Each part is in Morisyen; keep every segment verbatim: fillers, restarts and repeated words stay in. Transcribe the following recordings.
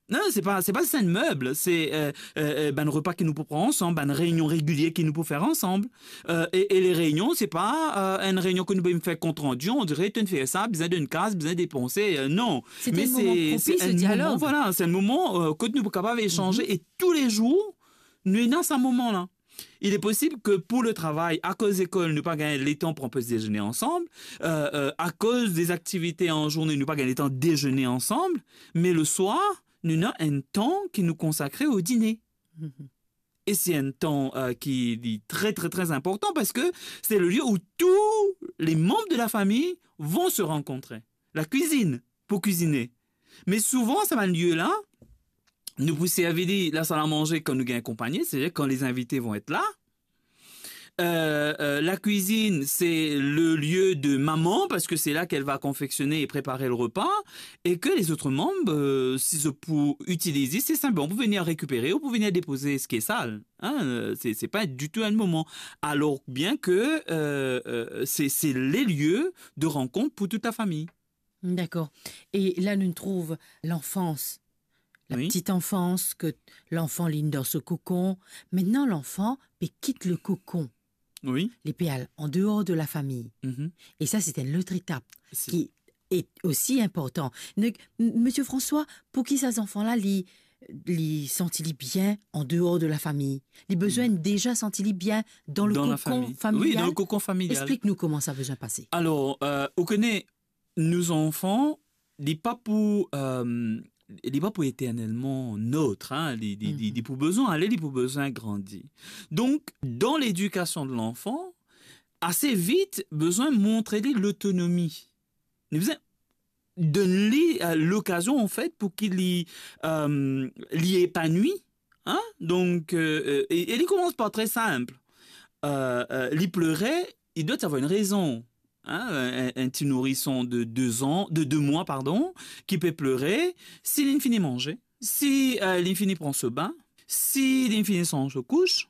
Non, se pa, se pa zis enn meb, se, euh, euh, euh, bann repa ki nou pou pran ansam, bann reynion regilie ki nou pou fer ansam. Euh, e, e le reynion, se pa, euh, enn reynion ke nou pe fer kontrandi, on dirait to inn fer sa, bizin donn kas, bizin depanse, euh, non. Se enn moman propis de dialog. Voilà, se enn moman, euh, kot nou pou kapav esanze e toulezour, nou ena sa moman la. Il est possible que pour le travail, akoz lekol, nou pa gagn letan pran petit déjeuner ensemble, euh, euh, akoz des activités en journée, nou pa gagn letan déjeuner ensemble, mais le soir, nou ena enn tan ki nou konsakre au dîner. Mhm. Et c'est un temps, euh, qui est très, très, très important parce que c'est le lieu où tous les membres de la famille vont se rencontrer. La cuisine, pour cuisiner. Mais souvent, sa bann lie la, nou pou servi li lasal a manze kan nou gagn konpagnie, c'est-à-dire quand les invités vont être là. Euh, euh, la cuisine, c'est le lieu de maman, parce que c'est là qu'elle va confectionner et préparer le repas, et que les autres membres, euh, si zot pou itiliz, c'est simplement pour venir récupérer ou pour venir déposer ce qui est sale. Hein, euh, c'est, c'est pas du tout un moment. Alors bien que, euh, euh, c'est, c'est les lieux de rencontre pour toute la famille. Dakor. E la, nou trouv lanfans, la petite enfance, ke lanfan, li dan so kokon. Aster, lanfan pe kit le kokon. Wi. Li pe al an deor de la fami. Mhm. E sa, se enn lot etap ki e osi inportan. Donk, m-, Misie François, pou ki sa zanfan la, li, li santi li bien an deor de la fami? Li bizin deza santi li bien dan le kokon familial? Wi, dan le kokon familial. Explik nou kouma sa bizin pase. Alor, euh, ou kone, nou zanfan, li pa pou, euh, li pa pou eternelman not, hein, li, li, li, li pou bizin ale, li pou bizin grandi. Donk, dan ledikasion de lanfan, ase vit, bizin montre li lotonomi. Nou bizin donn li, euh, lokazion, an fet, pou ki li, euh, li epanwi, hein? Donk, euh, euh, e, e li koumans par tre sinp. Euh, euh, li plere, li dwa avoir enn rezon. Hein, enn, enn ti nourison de deux ans, de deux mois, pardon, ki pe plere, si li fini manze, si, euh, li fini pran so bin, si li fini sanz so kous,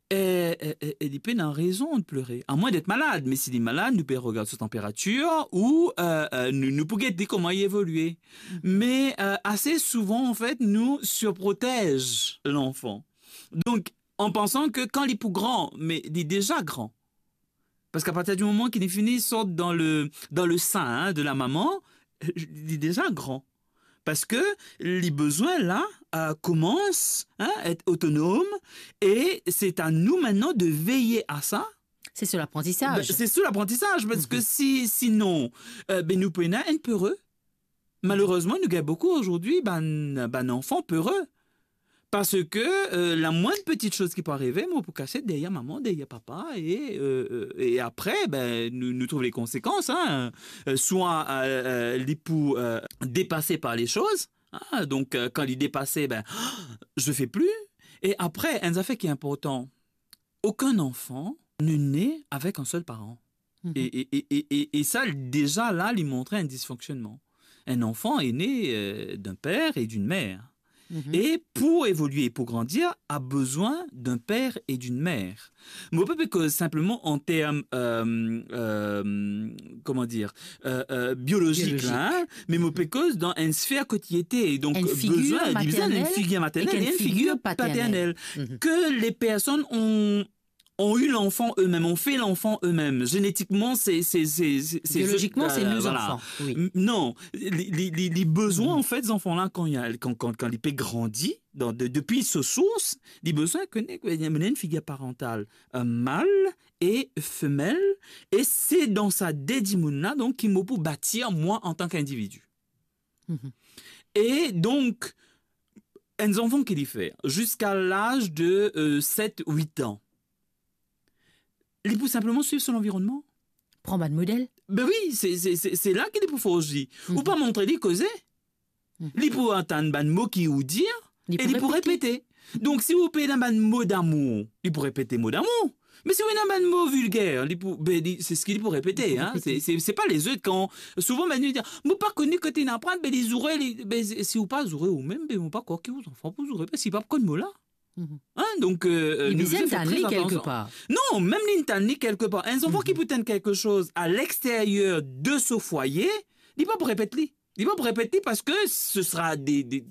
e, e, e, e li pena rezon de plere. Amwin d'être malad, me si li malad, nou pe regard so tanperatir ou, euh, euh, nou, nou pou get li kouma li evolie. Mhm. Me, euh, ase souvan, an fet, nou surprotez lanfan. Donk, an pansan ke kan li pou gran, me li deza gran. Parski a partir di moman ki li fini sort dan le, dan le sein, hein, de la maman, li deza gran. Parski li bizin la, euh, koumans, hein, et otonom, e se a nou aster de veye a sa. Se sou laprantisaz. Ben, se sou laprantisaz, parski si, sinon, euh, ben, nou pou ena enn pere. Malerezman, nou gagn boukou azordi bann, bann zanfan pere. Parski, euh, lamwinn peti soz ki pou arive, mo pou kasiet deryer mama, deryer papa, e, euh, euh, e apre, ben, nou, nou trouv le konsekans, hein. Euh, swa, euh, euh, li pou, euh, depase par le soz, hein, donk, euh, kan li depase, ben, je fais plus. E apre, enn zafer ki inportan, okenn zanfan ne naît avec un seul parent. Mhm. E, e, e, e, e, e sa, deza la, li montre enn disfonksionnman. Un enfant est né, euh, d'un père et d'une mère. Mhm. E pou evolie, pou grandir, a bizin d'un père et d'une mère. Mo pa pe koz sinpleman an term, euh, euh, kouma dir, euh, euh, biolozik, biolozik, la, hein, me mo pe koz dan enn sfer kot li ete. Donk, enn figir maternel e enn figir paternel. Enn figir maternel e enn figir paternel. Mhm. Ke le personn ont ont eu l'enfant eux-mêmes, ont fait l'enfant eux-mêmes. Génétiquement, c'est, c'est, c'est, c'est, c'est, biologiquement, c'est euh, nos voilà. Enfants, oui. M-, non, li, li, li, li bizin, an fet, zanfan la, kan li, kan, kan, kan li pe grandi, dan, de, depi so sours, li bizin kone, kone, li ena enn figir parantal, euh, mal e femel, e se dan sa de dimoun la, donk, ki mo pou batir mwa antan ki individi. Mhm. E donk, enn zanfan ki li fer, ziska laz de, euh, set, wit an, li pou sinpleman swiv so lanvironnman. Pran bann model. Ben wi, se, se, se, se la ki li pou forsi. Mhm. Ou pa montre li koze. Mhm. Li pou antann bann mo ki ou dir, e li pou repete. Donk, si ou pe ena bann mo damour, li pou repete mo damour. Me si ou ena bann mo vilger, li pou, ben, li, se seki li pou repete, hein. Li pou repete. Se, se, se pa lezot kan, souvan, ben, nou dir, "Mo pa kone kote inn aprann, ben, li zoure, li," ben, si ou pa zoure ou mem, ben, mo pa krwar ki ou zanfan pou zoure, parski li pa konn mo la. Mhm. Hein, donk, euh, euh, nou bizin fer tre atansion. Li bizin tann li kelke par. Non, mem li tann li kelke par. Enn zanfan ki pou tann kelke soz a lexteryer de so fwaye, li pa pou repet li. Li pa pou repet li parski se sera de, de,